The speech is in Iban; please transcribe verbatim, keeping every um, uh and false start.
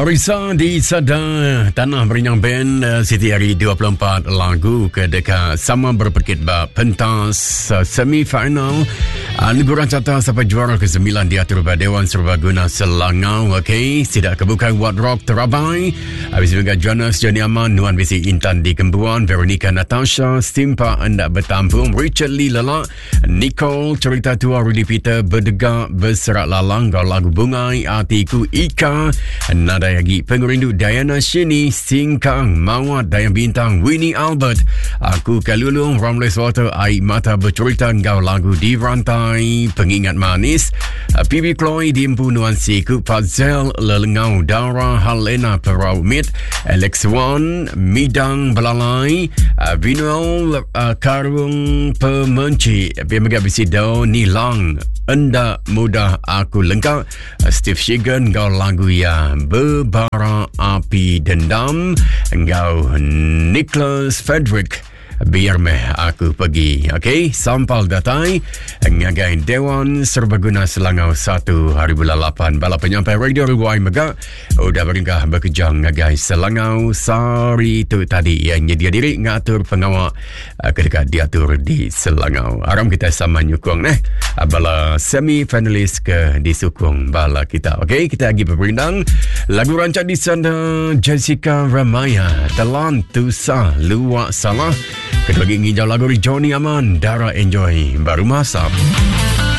Arisa di Sada Tanah Berinyang Band Siti hari dua puluh empat lagu ke dekat sama berpekit ba pentas semi-final Anugerah Carta sampai juara kesembilan diatur ba Dewan Serbaguna Selangau. Okey, tidak kebukai What Rock Terabai. Habis juga Jonas Johnny Aman, Nuan Bisi Intan di Kembuan, Veronica Natasha, Simpa Endak Bertampung, Richard Lee Lelak, Nicole Cerita Tua, Rudy Peter Berdegak Berserak Lalang, Gau Lagu Bungai, Atiku Ika, Nadai Lagi Pengerindu Diana Shini, Singkang Mawat Dayang Bintang, Winnie Albert, Aku Kalulung, Ramles Water, Air Mata Bercerita, Gau Lagu Di Rantai, Pengingat Manis, P B Chloe Dimpu Nuan Siku, Fazel Lelengau, Dara Halena Perau Mit, Alex Wan, Midang Belalai, Vinuel Karung Pemenci, P M G B C Do Nilang, Enda Mudah Aku Lengkap, Steve Shigan, Gau Lagu Ya Bebara Api Dendam, Gau Nicholas Frederick, Biar meh aku pergi. Okey, sampal datai ngagai Dewan Serbaguna Selangau satu hari bulan lapan. Bala penyampai Radio Ruai Mega udah beringkah berkejang ngagai Selangau sehari tu tadi yang nyedia diri ngatur pengawak ketika diatur di Selangau. Aram kita sama nyukung neh bala semi finalis ke disukung bala kita. Okey, kita lagi berperindang lagu rancak di sana Jessica Ramaya, Telan Tusa Luak Salah. Kedua lagi nginjau lagu Johnny Aman, Dara Enjoy, Baru Masam.